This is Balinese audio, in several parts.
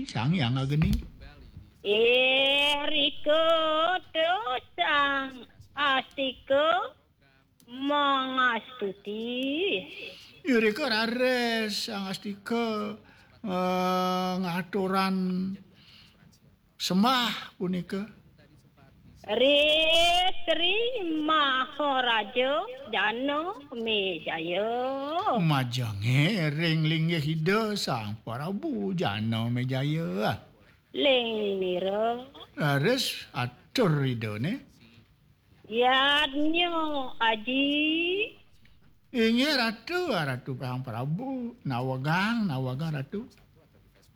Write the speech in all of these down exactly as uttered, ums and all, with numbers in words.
Sang Hyang Agni. Irika Sang Astika mangastuti. Irika raris Sang Astika, eh, ngaturan sembah punika. Ri Sri Maharaja Jana Mejaya. Majenge ring linggih Ida Sang Prabu Jana Mejaya. Ling nira. Raris atur Idane. Yadnya Aji. Inggih Ratu, Ratu Sang Prabu, nawegang, nawegang Ratu.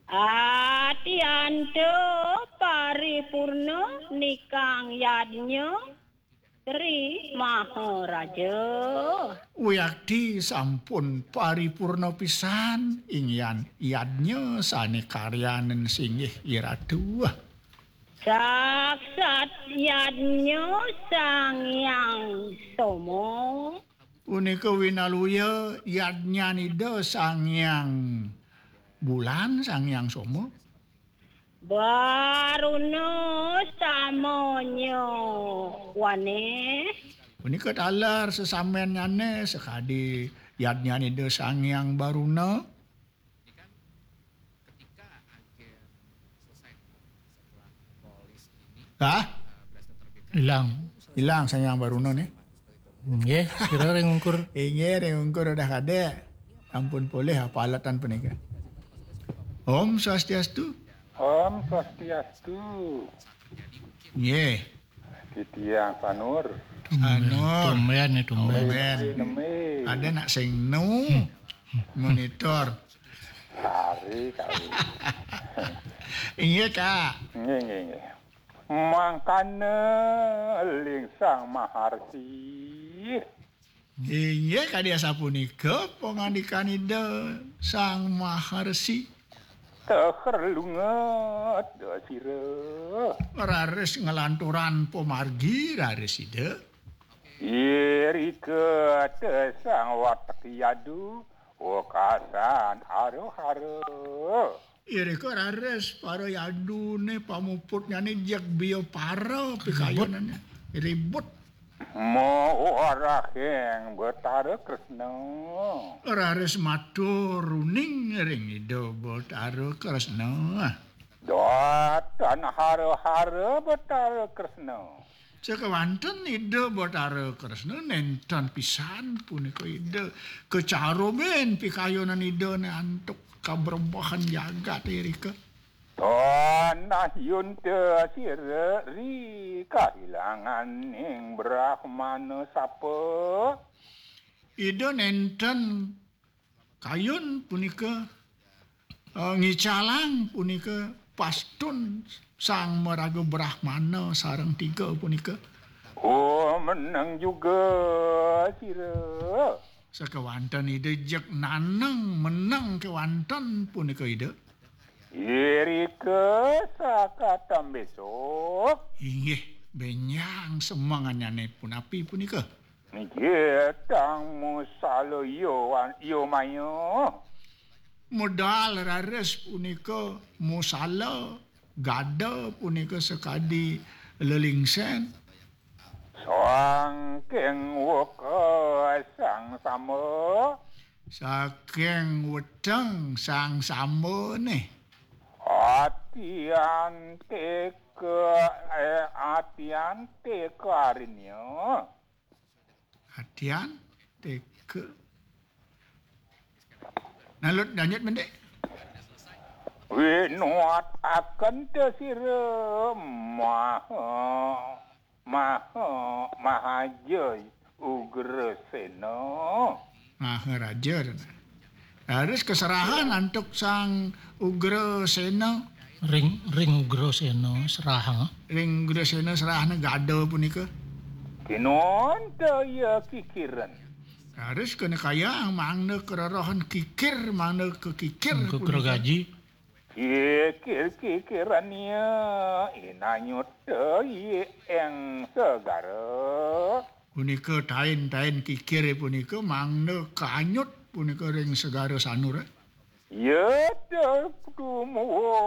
Atyanta paripurna nikang yadnya Sri Maharaja. Wiakti sampun paripurna pisan, inggihan yadnya sane karyanin singgih I Ratu. Saksat yadnya Sang Hyang Soma. Punika winaluya yadnyan Ida Sang Hyang Bulan, Sang Hyang Soma. Baruna samanya wane. Punika taler sesambennyane sakadi yadnyan Ida Sang Hyang Baruna. Hah? Ilang. Ilang Sang Hyang Baruna nih. Nggih, sira ring ungkur. Inggih, ring ungkur udah kadek. Ampun polih apa alatan punika. Om Swastiastu. Om Swastiastu. Nggih. Titiang Sanur. Sanur. Tumben, tumben. Tumben. Nembe. Ada nak sing nu monitor. Hari kali. Inggih, Kak. Nggih, nggih, nggih. Mangkana ling Sang Maharsi. Inggih, kadi asapunika pangandikan Ida Sang Maharsi. Teher lunget sira. Raris nglanturan pamargi raris Ida. Irika te Sang Watek Yadu, wekasan hara-hara. Irika raris para yadune pamuputnyane jeg biya para pikayunane. Ribut. Mawarahing Betara Kresna. Raris matur uning ring Ida Betara Kresna. Datan hara-hara Betara Kresna. Sakewanten Ida Betara Kresna nenten pisan punika Ida kacarumin pikayunan Idane antuk kabrebahan jagat irika. Tanah yunta sira ri kahilanganing Brahmana sapa. Ida nenten kayun punika, eh, ngicalang punika pastun Sang Maraga Brahmana sareng tiga punika. Oh, menang juga sira. Sakewanten Ida jeg naneng menang kewanten punika Ida. Irika sakatam besok. Inggih, benjang semengannyane punapi punika. Nggih, tang musala yo, yo maya. Medal raris punika musala, gada punika sakadi lelingsen. Saking weka sang sama. Saking weteng sang sama nih. Atian teka, eh, atian teka arinya. Atian teka. Nalut lanjut mendek. Winuat akan te sira maha, maha, mahaja Ugrasena. Maharaja. Harus keserahan antuk Sang Ugrasena. Ring, ring Ugrasena serahang. Ring Ugrasena serahana gada punika. Kinonta iya kikiran. Harus kena kaya mangda kerorohan kikir, mangda kekikir. Kekir punika. Gaji. Kikir-kikiran iya inanyuta iya eng segara. Punika tain-tain kikir punika mangda kanyut punika ring segara sanur. Iya te dumuh